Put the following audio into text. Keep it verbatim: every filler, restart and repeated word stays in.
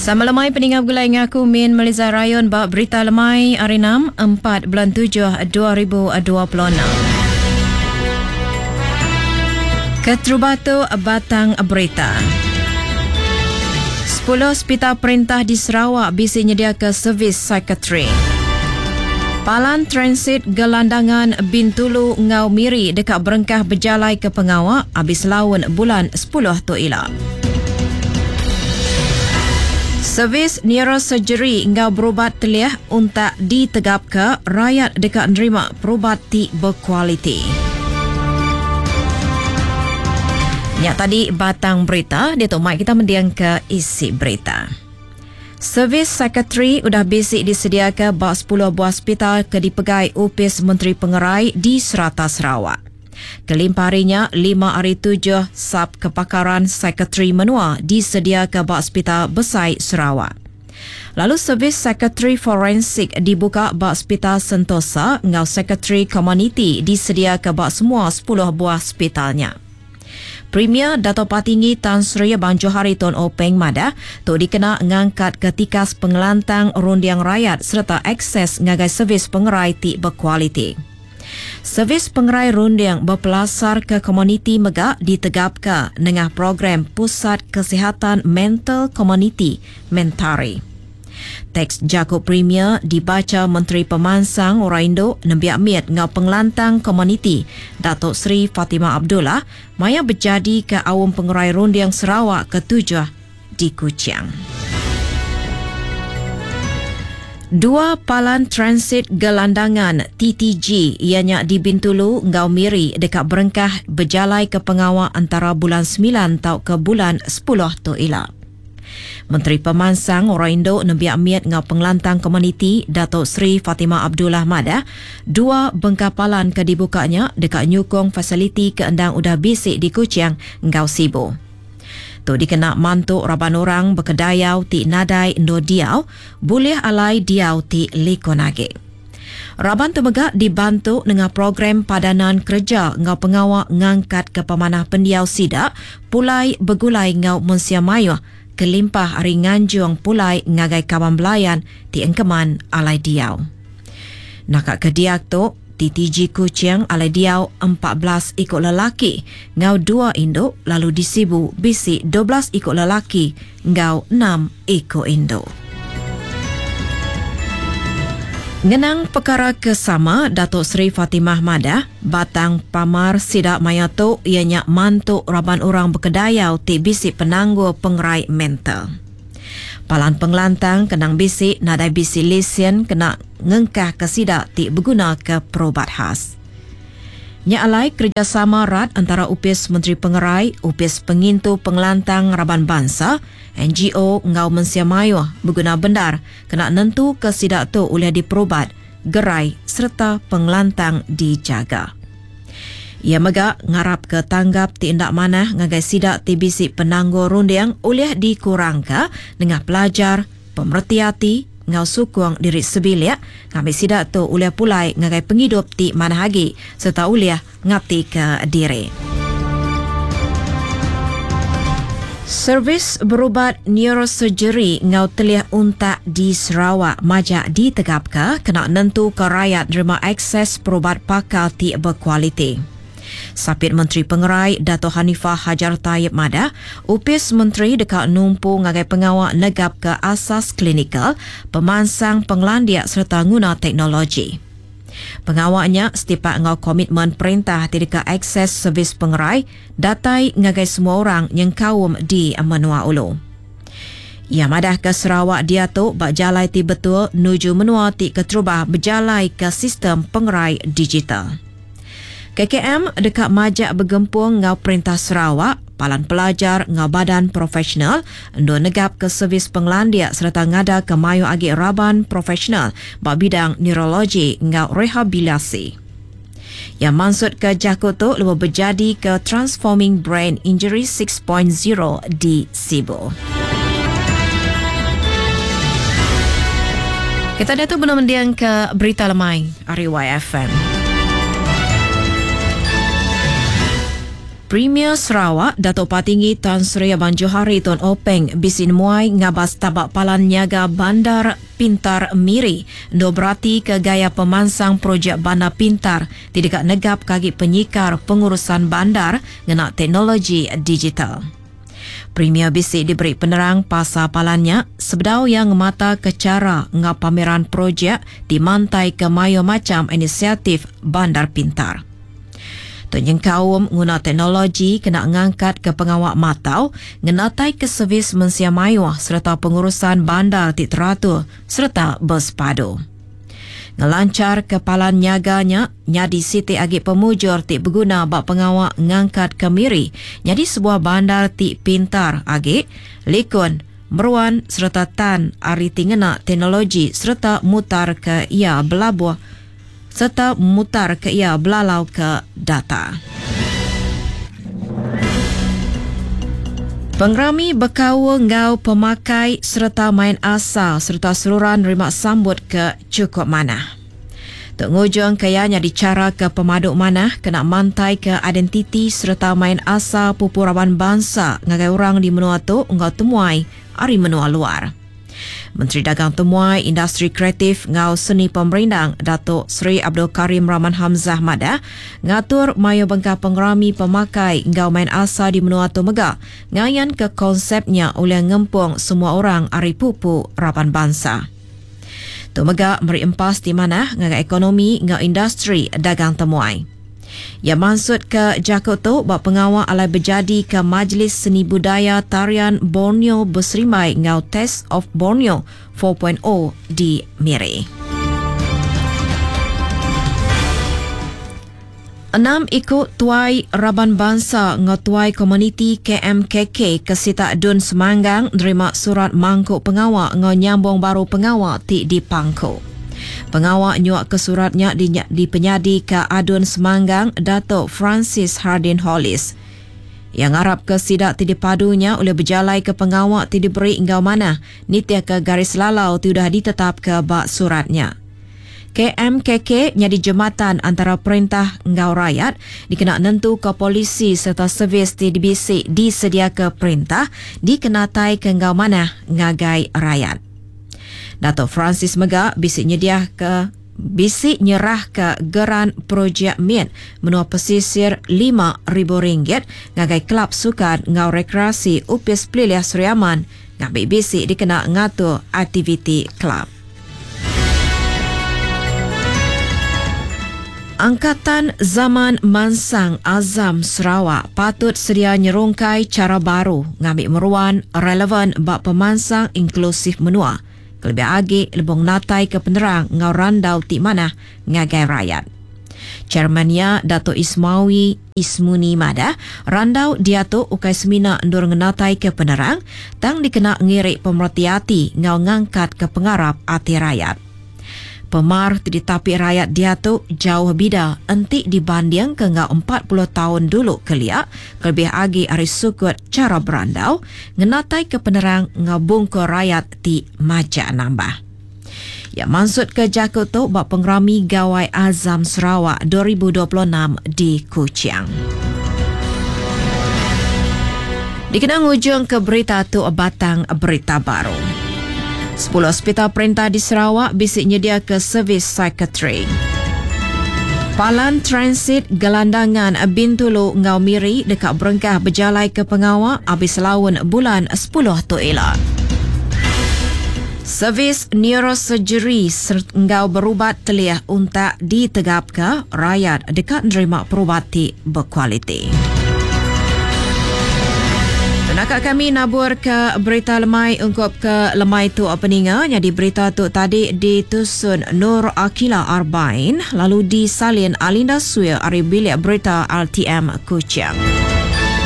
Sama lemai peninggal gulai ngaku Min Meliza Rayon ba berita lemai hari enam empat bulan tujuh dua ribu dua puluh enam. Keterubah tu batang berita. Sepuluh hospital perintah di Sarawak bisi nyediakan servis psikiatri. Palan Transit Gelandangan Bintulu Ngau Miri dekat berengkah berjalai ke pengawak habis laun bulan sepuluh tu ila. Servis neurosurgery ngau berubat teliah untuk ditegap ke rakyat dekat nerima perubat ti berkualiti. Ya tadi batang berita, dia tu mai kita mendiang ke isi berita. Servis psikiatri udah bisi disediakan bak sepuluh buah hospital ke dipegai Upis Menteri Pengerai di serata Sarawak. Kelimparinya, lima hari tujuh sub kepakaran psikiatri menua disediakan bak hospital Besai Sarawak. Lalu servis psikiatri forensik dibuka bak hospital Sentosa ngau psikiatri komuniti disediakan bak semua sepuluh buah hospitalnya. Premier Dato' Patinggi Tan Sri Abang Johari Tun Openg Madah tu dikena ngangkat ketikas pengelantang rundiang rakyat serta akses ngagai servis pengerai ti berkualiti. Servis pengerai rundiang berpelasar ke komuniti mega ditegapka nengah program Pusat Kesihatan Mental Komuniti Mentari. Teks Jaku Premier dibaca Menteri Pemansang Orang Induk Nembiak Miet ngau Pengelantang Komuniti Datuk Seri Fatimah Abdullah maya berjadi ke Awam Pengerai Rundiang Sarawak ketujuh di Kuching. Dua palan transit gelandangan T T G ianya di Bintulu ngau Miri dekat berengkah berjalai ke pengawak antara bulan sembilan tau ke bulan sepuluh tu ila. Menteri Pemansang Orang Induk Nembiak Miet ngau Pengelantang Komuniti Datuk Seri Fatimah Abdullah Madah, dua bengkapalan ke dibukanya dekat nyukong fasiliti keendang udah bisik di Kuching ngau Sibu. Tu dikena mantuk raban orang berkedayau ti nadai endo diau, boleh alai diau ti likonage. Raban tu mega dibantu dengan program padanan kerja ngau pengawak ngangkat ke pemanah pendiau sidak, pulai begulai ngau mensia mayuh, kelimpah hari nganjung pulai ngagai kawan belayan ti engkeman alai diau. Nakak kediak tu, T T G Kuching alai diau empat belas ikut lelaki, ngau dua induk lalu disibu bisi dua belas ikut lelaki, ngau enam ikut induk. Ngenang perkara kesama, Datuk Seri Fatimah Madah, batang pamar sidak maya tu ianya mantuk raban orang berkedayau ti bisi penanggul pengerai mental. Palan pengelantang kenang bisi nadai bisi lesen kena ngengkah ke sidak ti berguna ke perubat khas. Nya alai kerjasama rat antara Upis Menteri Pengerai, Upis Pengintu Pengelantang Raban Bangsa, N G O ngau Mensia Mayuh berguna bendar kena nentu ke sidak tu oleh diperubat, gerai serta pengelantang dijaga. Ia mega ngarap ke tanggap ti endak manah ngagai sidak ti bisi penanggul rundiang oleh dikurangka dengan pelajar, pemerhati hati, ngau sukung diri sebilik, ngambil sidak tu oleh pulai ngagai penghidup ti manah agi serta oleh ngati ke diri. Servis berubat neurosurgery ngau teliah untak di Sarawak majak ditegapka kena nentu ke rakyat nerima akses perubat pakar ti berkualiti. Sapit Menteri Pengerai Dato' Hanifah Hajar Taib Madah, Upis Menteri dekat numpu ngagai pengawak negap ke asas klinikal, pemansang penglandiak serta guna teknologi. Pengawaknya setipak ngau komitmen perintah tidak akses servis pengerai datai ngagai semua orang yang kaum di Menua Ulu. Ia madah ke Sarawak dia tu bak jalai ti betul nuju menua ti keterubah berjalai ke sistem pengerai digital. K K M dekat majak bergempung ngau perintah Sarawak, palan pelajar ngau badan profesional, endo negap ke servis penglandiak serta ngada ke mayu agi raban profesional bak bidang neurologi ngau rehabilitasi. Yang maksud ke jakut tu lebih berjadi ke Transforming Brain Injury six point zero di Sibu. Kita dah tu belum mendiang ke berita lemai R Y F M. Premier Sarawak, Datuk Patinggi Tan Sri Abang Johari Tun Openg bisi nemuai ngabas taba Palan Nyaga Bandar Pintar Miri endur berati ke gaya pemansang projek Bandar Pintar ti deka negap ke agi penyikar pengurusan bandar ngena teknologi digital. Premier bisi diberi penerang pasal palan nya sebedau iya ngemata ke chara enggau pameran projek ti mantai ke mayuh macham inisiatif Bandar Pintar. Tu nyengkaum nguna teknologi kena ngangkat ke pengawa matau, ngenatai ke servis mensia mayuh sereta pengurusan bandar ti teratur sereta bersepadu. Ngelancar ke palan nyaga nya nyadi siti agi pemujur ti beguna ba pengawa ngangkat ke Miri nyadi sebuah bandar ti pintar agi, likun, meruan sereta tan ari ti ngena teknologi sereta mutar ke ia belabuh serta mutar ke ia belalau ke data. Pengerami bekaul enggau pemakai sereta main asal sereta seruran nerima sambut ke cukup manah. Tu ngujung ke ia nyadi cara ke pemadu manah kena mantai ke identiti sereta main asal pupu raban bangsa ngagai orang di menua tu enggau temuai ari menua luar. Menteri Dagang Temuai, Industri Kreatif ngau Seni Pemerindang Datuk Seri Abdul Karim Rahman Hamzah madah ngatur mayuh bengkah pengerami pemakai enggau main asal di menua tu mega ngayan ke konsepnya oleh ngempung semua orang ari pupu raban bangsa. Tu mega meri empas di manah ngagai ekonomi ngau industri dagang temuai. Ya maksud ke jakut tu bak pengawal alai berjadi ke Majlis Seni Budaya Tarian Borneo Berserimai ngau Taste of Borneo four point oh di Miri. Enam ikut tuai Raban Bangsa ngau tuai komuniti K M K K ke Sitak Dun Semanggang nerima surat mangkuk pengawal ngau nyambung baru pengawal ti dipangkuk. Pengawal nyuak ke suratnya di, dipenyadi ke Adun Semanggang Datuk Francis Hardin Hollis. Yang harap ke sidak ti dipadunya oleh berjalai ke pengawal ti diberi enggau manah nitiah ke garis lalau ti udah ditetap ke bak suratnya. K M K K nyadi jematan antara perintah enggau rakyat dikena nentu ke polisi serta servis ti dibisi disedia ke perintah dikenatai ke enggau manah ngagai rakyat. Datuk Francis mega bisi nyediah ke bisi nyerah ke geran projek M I T menua pesisir lima ribu ringgit ngagai kelab sukan ngau rekreasi Upis Pelilih Sri Aman ngambil bisi dikena ngatur aktiviti kelab. Angkatan Zaman Mansang Azam Sarawak patut sedia nyerungkai cara baru ngambil meruan relevan bak pemansang inklusif menua. Kelebih agi lebong natai ke penerang ngau randau ti manah ngagai rakyat. Chairmannya Dato' Ismawi Ismuni Madah, randau dia tu ukai semina endur ngenatai ke penerang, tang dikena ngirik pemerhati hati ngau ngangkat ke pengarap hati rakyat. Pemar ti ditapi rakyat dia tu jauh bida entik dibanding ke ngau empat puluh tahun dulu keliak, kelebih agi ari sukut cara berandau, ngenatai ke penerang ngau bungkur rakyat ti majak nambah. Ya maksud ke jakut tu bak pengerami Gawai Azam Sarawak dua ribu dua puluh enam di Kuching. Dikenang ujung ke berita tu batang berita baru. Sepuluh hospital perintah di Sarawak bisik nyedia ke servis psikiatri. Palan Transit Gelandangan Bintulu Ngau Miri dekat berengkah berjalai ke pengawal habis laun bulan sepuluh tu ila. Servis neurosurgery ngau berubat teliah untak ditegap ke rakyat dekat nerima perubat ti berkualiti. Nakak kami nabur ke berita lemai ungkup ke lemai tu peninga. Jadi berita tu tadi ditusun Nur Akila Arbain lalu disalin Alinda Suya ari bilik berita R T M Kuching.